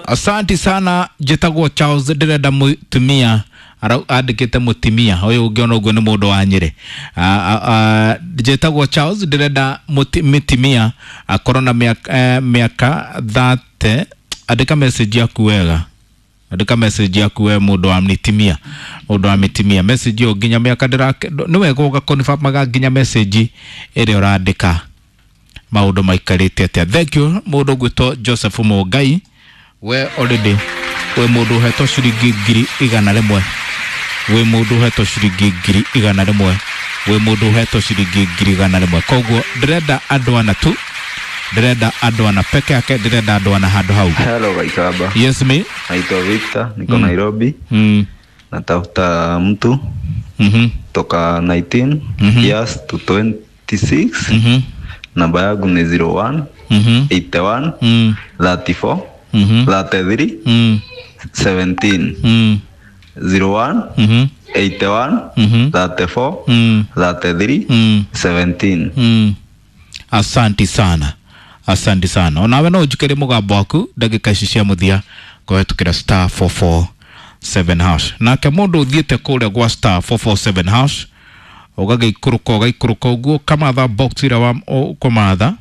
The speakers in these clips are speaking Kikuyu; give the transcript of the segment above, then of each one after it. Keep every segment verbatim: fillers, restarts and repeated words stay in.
Asanti sana. Njĩtagwo Charles, ndĩrenda mũtumia. Andĩkĩte mũtimia ũyũ, ũngĩona ũguo nĩ mũndũ wa Nyĩrĩ. Njĩtagwo Charles, ndĩrenda mũtimia akorwo na mĩaka, mĩaka thate. Andĩka message yaku wega, andĩka message yaku we mũndũ wa mĩtimia, mũndũ wa mĩtimia. Message ĩyo nginya mĩaka ndĩra, nĩ wega ũgakonfirmaga nginya message ĩrĩa ũrandĩka maũndũ maikarĩte atĩa. Thank you. Mũndũ ũgwĩtwo Joseph Mũngai, we already wĩ mũndũ ũhetwo ciringi ngiri igana rĩmwe, wĩ mũndũ ũhetwo ciringi ngiri igana rĩmwe, wĩ mũndũ ũhetwo ciringi ngiri igana rĩmwe. Koguo ndĩrenda andũ ana tu, ndĩrenda andũ ana peke yake, ndĩrenda andũ ana handũ hau. Hello Kaikaba. Yes me. Naitwa Victor, niko Nairobi. mm. Natafuta mtu mm-hmm. toka nineteen Mhm. years to twenty-six. Mm-hmm. Namba yangu ni zero one Mm-hmm. eighty-one Mm. thirty-four Mm-hmm. thirty-three Mm. seventeen. Mm. zero one Mm-hmm. eighty-one Mm-hmm. thirty-four Mm. thirty-three Mm. seventeen. Mm. Asanti sana, asanti sana. Onawe no ũnjikĩrie mũgambo waku ndagĩka ici cia mũthia kũhetũkĩra star four four seven hash. Nake mũndũ ũthiĩte kũrĩa gwa star four four seven hash, ũgagĩikũrũka, ũgaikũrũka ũguo, ũkamatha box ĩrĩa wa ũkũmatha,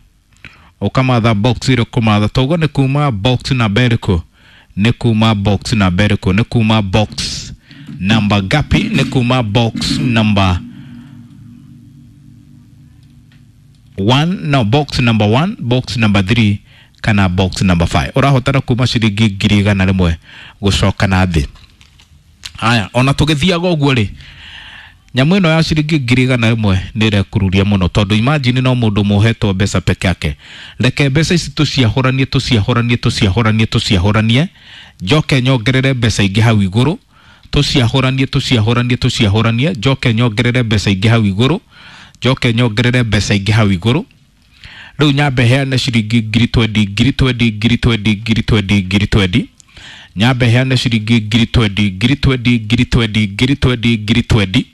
ũkamatha box ĩrĩa ũkũmatha. Toguo nĩ kuma box namba ĩrĩkũ? Nĩ kuma box namba ĩrĩkũ? Nĩ kuma box namba gapi? Nĩ kuma box number one, no, box number one, box number three kana box number five. Ũrahotana kuma ciringi ngiri igana rĩmwe gũcoka na thĩ. Haya, ona tũgĩthiaga ũguo rĩ, nyamũ ĩno ya ciringi ngiri igana rĩmwe nĩ ĩrekururia mũno, tondũ imagine no mũndũ mũhetwo mbeca peke yake. Reke mbeca ici tũciahũranie, tũciahũranie, tũciahũranie, tũciahũranie, njoke nyongerere mbeca ingĩ hau igũrũ. Tũciahũranie, tũciahũranie, tũciahũranie, njoke nyongerere mbeca ingĩ hau igũrũ, njoke nyongerere mbeca ingĩ hau igũrũ. Rĩu nyambe heane ciringi ngiri twendi, ngiri twendi, ngiri twendi, ngiri twendi, ngiri twendi. Nyambe heane ciringi ngiri twendi, ngiri twendi, ngiri twendi, ngiri twendi, ngiri twendi.